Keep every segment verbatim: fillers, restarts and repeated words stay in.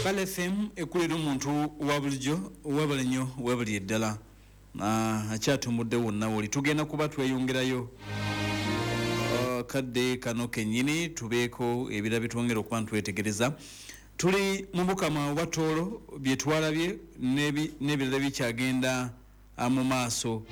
Kale F M ekulira omuntu wa bulijjo, webale nnyo, webali eddala. Ah, akyatumbudde wonna woli, tugenda kuba tweyongerayo Ah, kadde kano kennyini tubeeko ebira bitwongera okuba ntwetegereza. Tuli mu Bukama obwa Tooro, bye twalabye n'ebi- n'ebirala bikyagenda ah, mu maaso.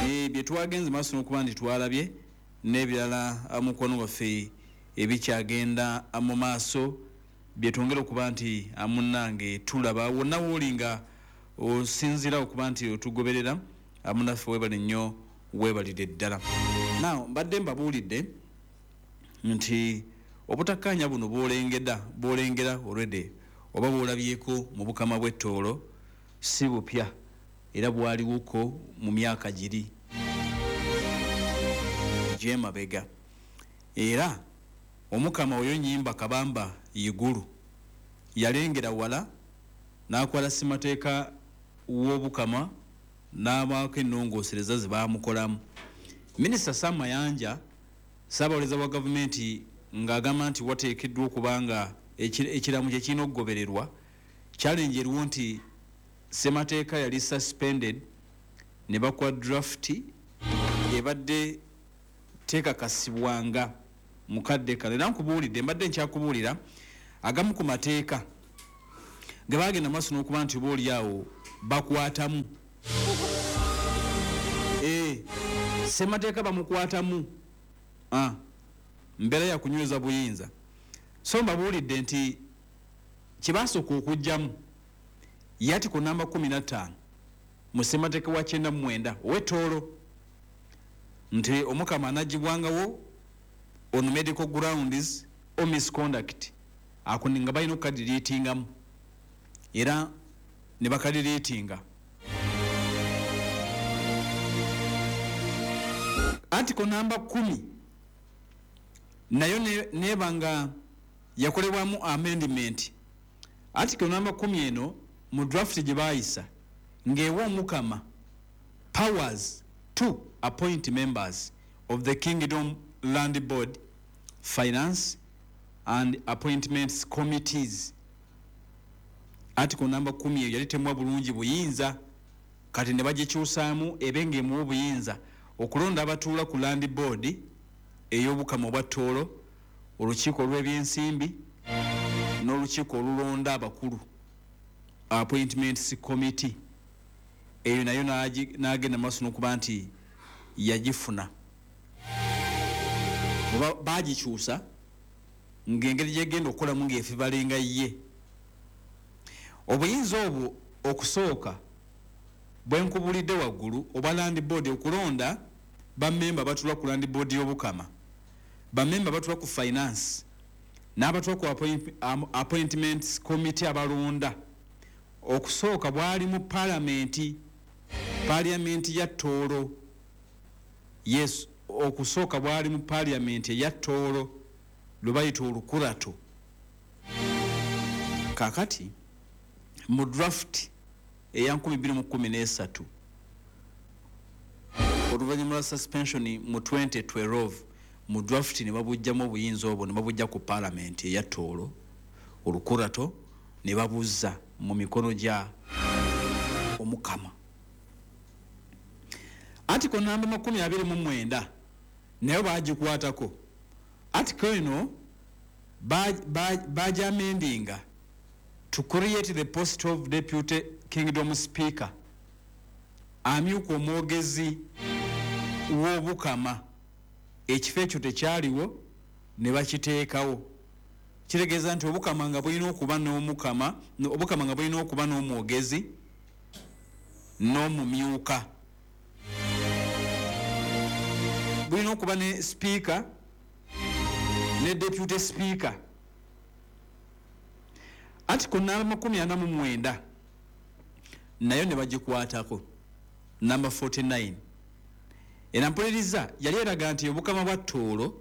Eh, bye twagenze maaso n'okuba nti twalabye n'ebirala ah, mukwano gwaffe, ebikyagenda ah, mu maaso byetwongera okuba nti ah, munnange tulaba wonna wooli nga osinziira okuba nti otugoberera. ah, munnaffe weebale nnyo, weebalire ddala. Now mbadde mbabuulidde nti obutakkaanya buno bwolengeda bwolengera already oba bwolabyeko mu Bukama bw'Ettoolo si bupya, era bwaliwoko mu myaka giri gyemabega. Era Omukama oyo Nyimba Kabamba Igulu yalengera wala n'akwala ssemateeka w'Obukama n'abaako ennongoosereza ze baamukolamu. Minisita Sam Mayanja, saabawolereza wa gavumenti, ng'agamba nti wateekeddwa okuba nga eki- ekiramu kye kirina okugobererwa. Challenge eriwo nti ssemateeka yali suspended ne bakuwa draft ebadde tekakasibwanga mukadde kano. Era nkubuulidde, mbadde nkyakubuulira agamu ku mateeka ge bagenda maaso n'okuba nti oba oli awo bakwatamu. Eh, ssemateeka bamukwatamu. Ah, mbeera yakunyweza buyinza. So mbabuulidde nti kyebasooka okugjamu yati ku namba kumi na ttaano mu ssemateeka wa kyenda mu mwenda ow'Ettoolo nti Omukama anagibwangawo on medical grounds or misconduct. Ako nga balina okukadiriitingamu, era ne bakadiriitinga. Article namba kumi nayo ne- neba nga yakolebwamu amendment. Article namba kumi eno mu draft gye baayisa ng'ewa Omukama powers to appoint members of the Kingdom Land Board, Finance and Appointments Committees. Article namba kumi eyo yali temuwa bulungi buyinza, kati ne bagikyusaamu ebe ng'emuwa obuyinza okulonda abatuula ku Land Board ey'Obukama obwa Ttoolo, olukiiko olw'ebyensimbi n'olukiiko olulonda abakulu, Appointments Committee. Eyo nayo n'agi- n'agenda maaso n'okuba nti yagifuna oba bagikyusa ng'engeri gyegenda okukolamu ng'efibalenga ye obuyinza obwo. Okusooka bwenkubulidde waggulu obwa Land Board, okulonda bamemba batula ku Land Board y'Obukama, bamemba batula ku Finance n'abatula ku appoint- am- appointments Committee abalonda, okusooka bwali mu palamenti, Parliament ya Tooro. Yes, okusooka bwali mu Parliament eya Tooro lwe bayita Olukurato. Kakati mu draft eya nkumi bbiri mu kkumi n'essatu, oluvannyuma lwa suspension mu twenty twelve, mu draft ne babugjamu obuyinza obwo, ne babujja ku Parliament eya Tooro Olukurato ne babuzza mu mikono gya Omukama. Article namba makumi abiri mu mwenda nayo bagikwatako. Article eno bajamendinga to create the post of deputy kingdom speaker, amyuka omwogezi w'Obukama. Ekifo ekyo tekyaliwo, ne bakiteekawo. Kitegeeza nti Obukama nga bulina okuba n'omukama, Obukama nga bulina okuba n'omwogezi n'omumyuka, bulina okuba ne speaker ne deputy speaker. Article namba makumi ana mu mwenda nayo ne bagikwatako, namba forty-nine. Era mpuliriza, yali eraga nti Obukama bwa Tooro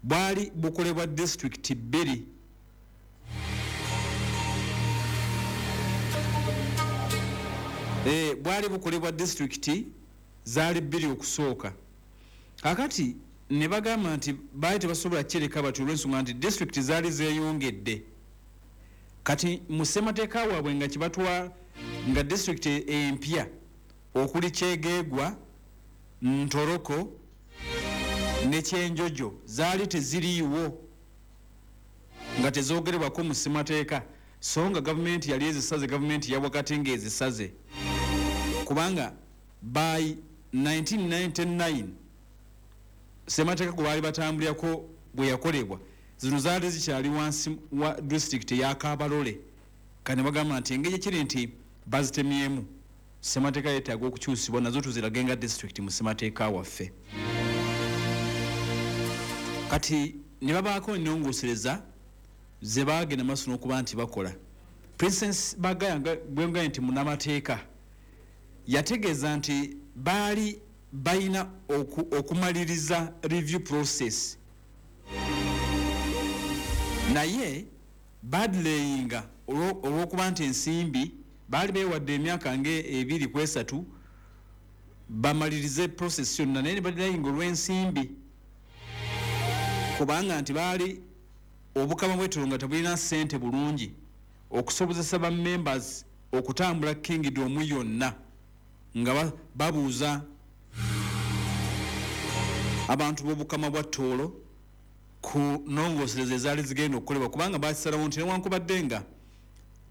bwali bukolebwa disitulikiti bbiri. Eh, bwali bukolebwa disitulikiti zaali bbiri okusooka. Kakati Ne bagamba nti baali tebasobola kireka bati olw'ensonga nti disitulikiti zaali zeeyongedde. Kati mu ssemateeka waabwe nga kibatwa nga disitulikiti empya okuli Kyegeegwa, Ntoroko ne Kyenjojo zaali teziriiwo, nga tezoogerebwako mu ssemateeka, so nga gavumenti yali ezisaze, gavumenti ya wakati ng'ezisaze, kubanga by nineteen ninety-nine ssemateeka gwe baali batambulirako bwe yakolebwa, zino zaali zikyali wansi wa disitulikiti eya Kabarole. Kati ne bagamba nti engeri kiri nti bazitemyemu, ssemateeka yeetaaga okukyusibwa nazo tuzirage nga disitulikiti mu ssemateeka waffe. Kati ne babaako ennongoosereza ze baagenda maaso n'okuba nti bakola. Princess Bagaya, bwe nti munnamateeka, yategeeza nti baali balina okumaliriza review process, naye badelayinga olw'okuba nti ensimbi baali beewadde emyaka ng'ebiri ku esatu bamalirize process yonna, naye ne badelayinga olw'ensimbi, kubanga nti baali obukama bw'Etooro nga tebulina ssente bulungi okusobozesa ba members okutambula kingdom yonna nga babuuza abantu b'obukama bwa Tooro ku nnongoosereza ezaali zigenda okukolebwa, kubanga bakisalawo nti newankubadde nga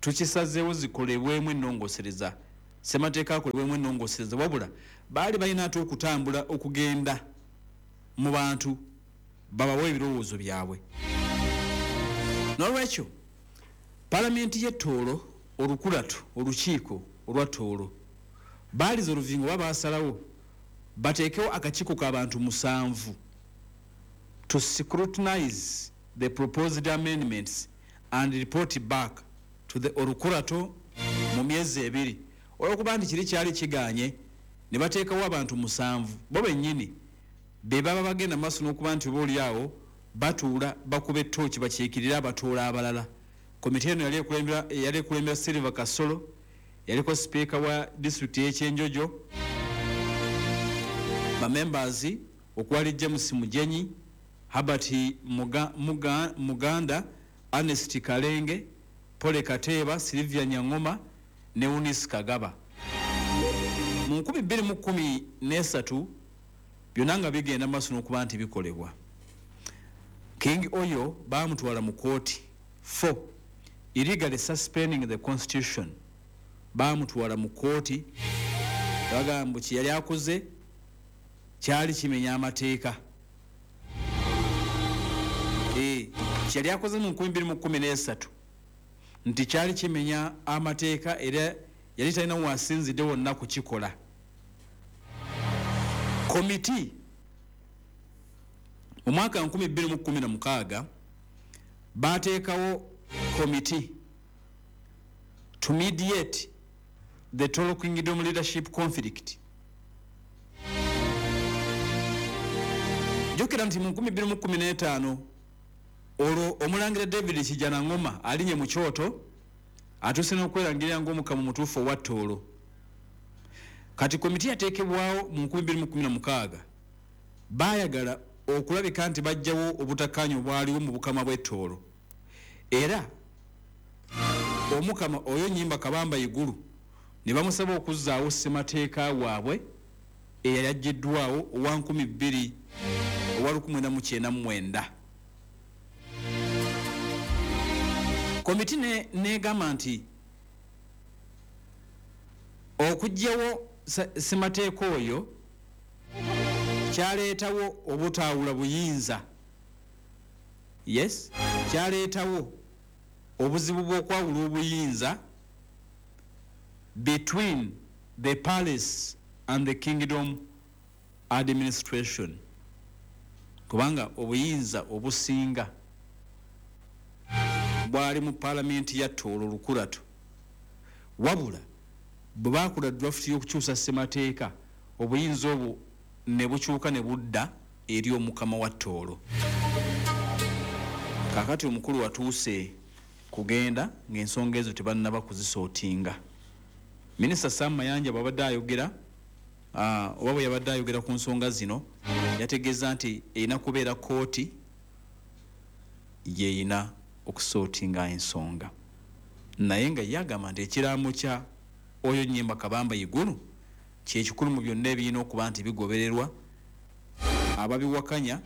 tukisazeewo zikolebwemu ennongoosereza, ssemateeka akolebwemu ennongoosereza, wabula baali balina ate okutambula okugenda mu bantu babawe ebirowoozo byabwe. N'olwekyo palamenti y'e Tooro, olukulatu olukiiko olwa Tooro, baaliza oluvingo oba baasalawo bateekewo akakiiko k'abantu musanvu to scrutinize the proposed amendments and report back to the Orukurato mu myezi ebiri. Olw'okuba nti kiri kyali kiganye, ne bateekawo abantu musanvu bo bennyini be baba bagenda maaso n'okuba nti oba oli awo batuula bakuba ettooki bakiikirire abatoola abalala. Komite eno yali ekulembera Silver Kasolo, yaliko sipiika wa disitulikiti y'Ekyenjojo, bamembers okwali James Mugenyi, Herbert Muga, Muga, Muganda, Ernest Kalenge, Pole Kateeba, Sylvia Nyangoma ne Eunice Kagaba. Mu nkumi bbiri mu kkumi n'esatu byonna nga bigenda maaso n'okuba nti bikolebwa. King Oyo baamutwala mu kooti for illegally suspending the constitution. Baamutwala mu kooti bagamba kye yali akoze kyali kimenya amateeka. Eh, kye yali akoze mu nkumi bbiri mu kkumi n'esatu nti kyali kimenya amateeka, era yali talina wasinzidde wonna kukikola. Komiti mu mwaka nkumi bbiri mu kkumi na mukaaga baateekawo komiti to mediate the Tooro Kingdom leadership conflict. Jjukira nti mu nkumi bbiri mu kkumi n'etaano olwo omulangira David Kijanangoma alinye mu kyoto atuuse n'okwerangirira ng'omukama omutuufu owa Tooro. Kati komiti yateekebwawo mu nkumi bbiri mu kkumi na mukaaga, baayagala okulabika nti bajjawo obutakkaanya obwaliwo mu bukama bw'e Tooro, era omukama oyo Nnyimba Kabamba Igulu ne bamusaba okuzzaawo ssemateeka waabwe eyali aggyiddwawo owa nkumi bbiri owa lukumi mwenda mu kyenda mu mwenda. Komiti n'egamba nti okuggyawo ssemateeka oyo kyaleetawo obutaawula buyinza. Yes, kyaleetawo obuzibu bw'okwawula obuyinza between the palace and the kingdom administration, kubanga obuyinza obusinga bwali mu palamenti ya Tooro Lukulatu. Wabula bwe baakola draft y'okukyusa ssemateeka, obuyinza obwo ne bukyuka ne budda eri omukama wa Tooro. Kaakati omukulu watuuse kugenda ng'ensonga ezo tebannaba kuzisootinga. Minisita Sam Mayanja bw'abadde ayogera uh, oba bwe yabadde ayogera ku nsonga zino, yategeeza nti erina kubeera kooti yeyina okusootinga ensonga, naye nga yagamba nti ekiraamo kya oyo Nyemba Kabamba Iguru kyekikulu mu byonna ebirina okuba nti bigobererwa. Ababiwakanya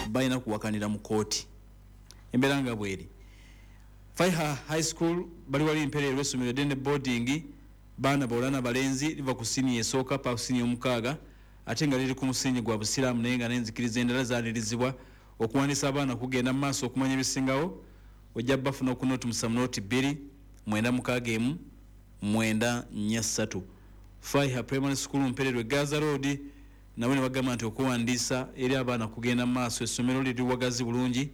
balina kuwakanira mu kooti. Embeera nga bweri. Faiha High School bali wali Mpereerwe, essomero eddene boarding, baana bawala na balenzi, liva ku siniya esooka paka ku siniya omukaaga, ate nga liri ku musingi gwa busiraamu naye nga n'enzikiriza endala zaanirizibwa. Okuwandiisa abaana kugenda mu maaso. Okumanya ebisingawo ojja bafuna ku noti musanvu noti bbiri mwenda mukaaga emu mwenda nnya ssatu. Faiha Primary School, Mpereerwe, Gaza Road, nabo ne bagamba nti okuwandiisa eri abaana kugenda mu maaso. Essomero liri wagazi bulungi,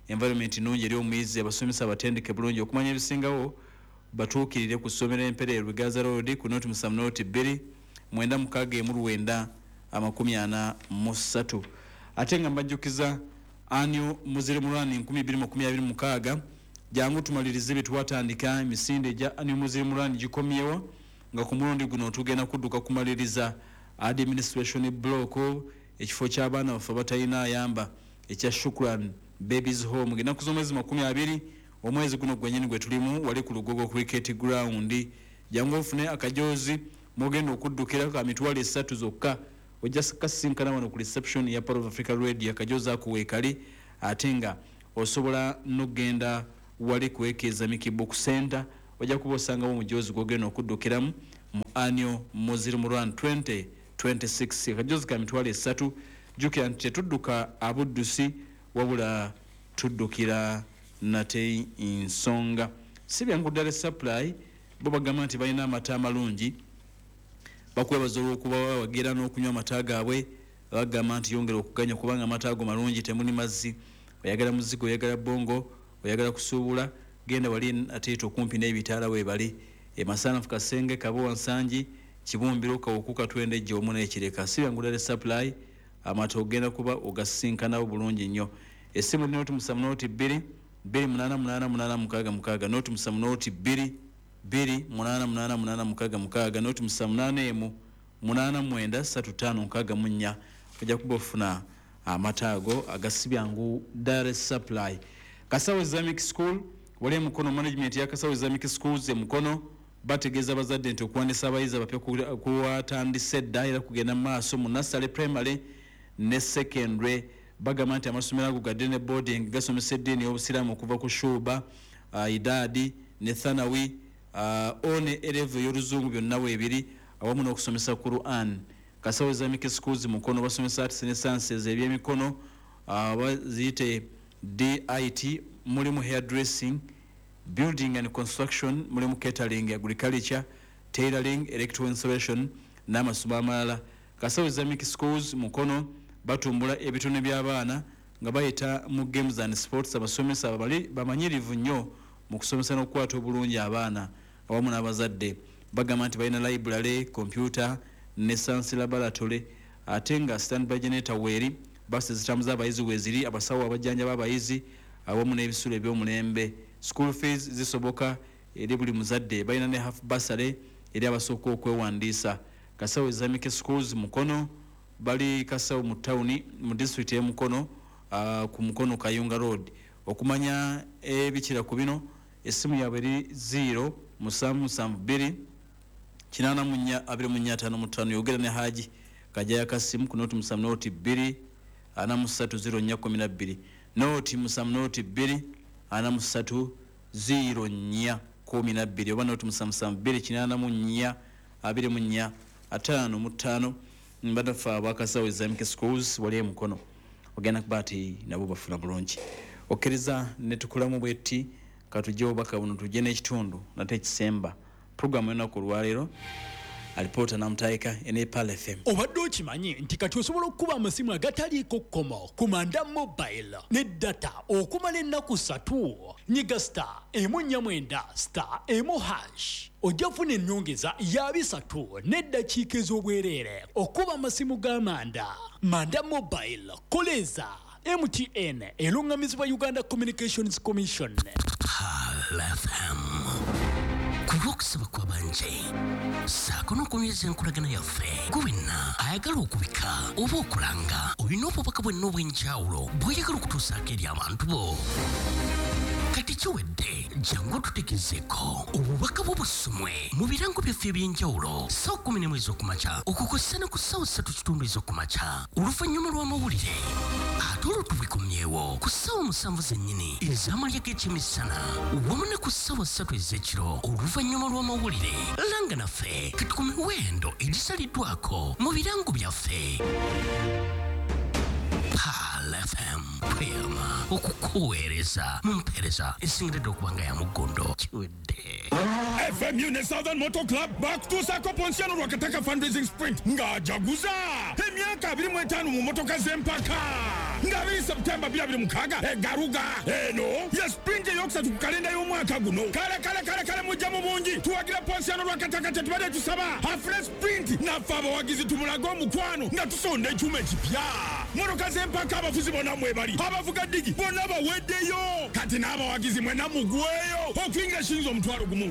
environment nnungi eri omuyizi, abasomesa abatendeke bulungi. Okumanya ebisingawo batuukirire ku ssomero Empereerwe, Gaza Road, ku noti musanvu noti bbiri mwenda mukaaga emu lwenda amakumi ana mu ssatu. Ate nga mbajjukiza annual Muslim Run nkumi bbiri makumi abiri mukaaga. Jangu tumalirize bye twatandika. Emisinde egya annual Muslim Run gikomyewo, nga ku mulundi guno tugenda kudduka kumaliriza administration block, ekifo ky'abaana baffe abatalina ayamba ekya Shukran Babies Home. Ennaku z'omwezi makumi abiri omwezi guno gwennyini gwe tulimu, wali ku Lugogo Cricket Ground. Jangu ofune akajozi mugenda okuddukira ka mitwalo esatu zokka. Ojja kasinkana wano ku reception ya Pearl of Africa Radio, akajozi ako weekali. Ate nga osobola n'okugenda wali ku Islamic Book Center, ojja kuba osangawo omujozi gwogenda okuddukiramu mu annual Muslim Run twenty twenty-six, akajozi ka mitwalo esatu. Jjukira nti tetudduka abuddusi, wabula tuddukira nate nsonga. Si byangu ddala. Supply bo bagamba nti balina amata amalungi, bakwebaza olw'okuba bawagira n'okunywa amata gaabwe. Bagamba nti yongera okuganywa kubanga amata ago malungi, temuli mazzi. Oyagala muzigo, oyagala bongo, oyagala kusuubula, genda wali ateeta okumpi n'ebitaala weebali emasanafu, Kasenge, Kabowa, Nsangi, Kibumbiro, Kawuku, Katwendejje omu n'ekireka. Si byangu ddala supply amata ogenda kuba ogasinkanawo bulungi nnyo. Essimu eri noti musanvu noti bbiri bbiri munaana munaana munaana mukaaga mukaaga, noti musanvu noti bbiri bbiri munaana munaana munaana mukaaga mukaaga, noti musanvu munaana emu munaana mwenda ssatu ttaano nkaaga mu nnya. Ojja kuba ofuna amata ago agasibyangu Dairy Supply. Kasawo Islamic School wali emukono, management ya Kasawo Islamic Schools emukono bategeeza abazadde nti okuwandiisa abayizi abapya kuwatandise dda era kugenda mu maaso mu nursery, primary ne secondary. Bagamba nti amasomero ago gadde ne boarding, gasomesa eddiini y'obusiraamu okuva ku shuba, uh, idaadi ne thanawi, uh, o ne A level ey'oluzungu, byonna weebiri, awamu n'okusomesa Quran. Kasawo Islamic Schools Mukono basomesa arts ne sciences, ebyemikono, uh, baziyite D I T, mulimu hairdressing, building and construction, mulimu catering, agriculture, tailoring, electrical installation n'amasomo amalala. Kasawo Islamic Schools Mukono batumbula ebitone by'abaana nga bayita mu games and sports. Abasomesa bali bamanyirivu nnyo mu kusomesa n'okukwata obulungi abaana awamu n'abazadde. Bagamba nti balina library, computer ne science laboratory, ate nga standby generator weeri, basi zitambuza abayizi weeziri, abasawo abajjanjaba abayizi awamu n'ebisulo eby'omulembe. School fees zisoboka eri buli muzadde. Balina ne half bursary eri abasooka okwewandiisa. Kasawo Islamic Schools Mukono bali Kasawo mu tawuni mu disitulikiti y'emukono, uh, ku Mukono Kayunga Road. Okumanya ebikira ku bino, essimu yaabwe eri zero musanvu musanvu bbiri kinaana mu nnya abiri mu nnya ataano mu ttaano. Yogera ne Haji Kajaya Kasimu ku noti musanvu noti bbiri ana mu ssatu zero nnya kumi na bbiri, noti musanvu noti bbiri ana mu ssatu zero nnya kumi na bbiri, oba noti musanvu musanvu bbiri kinaana mu nnya abiri mu nnya ataano mu ttaano. Bannaffe abakasawo Islamic Schools wali emukono, ogenda kuba ati nabo bafuna bulungi. Okkiriza ne tukolamu bwetti, katujje obubaka buno, tujje n'ekitundu nate ekisemba puroguramu y'olunaku olwaleero. Alipoota namutayika ene Pearl F M. Obadde okimanyi nti kati osobola okukuba amasimu agataliiko kkomo ku Manda Mobile ne data okumala ennaku ssatu? Nyiga star emu nnya mwenda star emu hash, ojja funa ennyongeza ya bisatu n'eddakiika ez'obwereere okuba amasimu ga Manda. Manda Mobile, koleeza M T N, eruŋŋamizibwa Uganda Communications Commission. Pearl F M. Ku lw'okusaba kw'abangi ssaako n'okunyweza enkolagana yaffe, gwe wenna ayagala okubika oba okulanga, olina obubaka bwenna obw'enjawulo bw'oyagala okutuusaako eri abantu bo, kati kiwedde. Jangu otutegezeeko obubaka bwo busomwe mu birango byaffe ebyenjawulo ssaawa kumi n'emu ez'okumakya okukossa ne ku ssaawa ssatu kitundu ez'okumakya oluvannyuma lw'amawulire, ate olwo tubikomyewo ku ssaawa musanvu zennyini ez'amalya g'ekyemisana wamu ne ku ssaawa ssatu ez'ekiro oluvannyuma lw'amawulire. Langa naffe kati ku miwendo egisaliddwako mu birango byaffe. Pearl F M tweyama okukuweereza mu mpeereza esingiridde okuba nga ya muggondo. Kiwedde. F M U ne Southern Motor Club bakutuusaako Ponsiano Lwakataka Fundraising Sprint ng'ajaguza emyaka abiri mu etaano mu motoka z'empaka nga abiri Septemba twenty twenty-six egaruga. Eno ye sprint eyokusatu ku kalenda y'omwaka guno. Kale kale kale kale, mujja mu bungi tuwagira Ponsiano Lwakataka. Tetubadde tusaba afune sprint, naffe abawagizi tumulage omukwano nga tusonda ekyuma ekipya. Motoka z'empaka, abafuzi bonna mwebali, abavuga ddigi bonna baweddeyo. Kati n'abawagizi mwenna mugweyo okuyingira shilingi omutwalo gumu.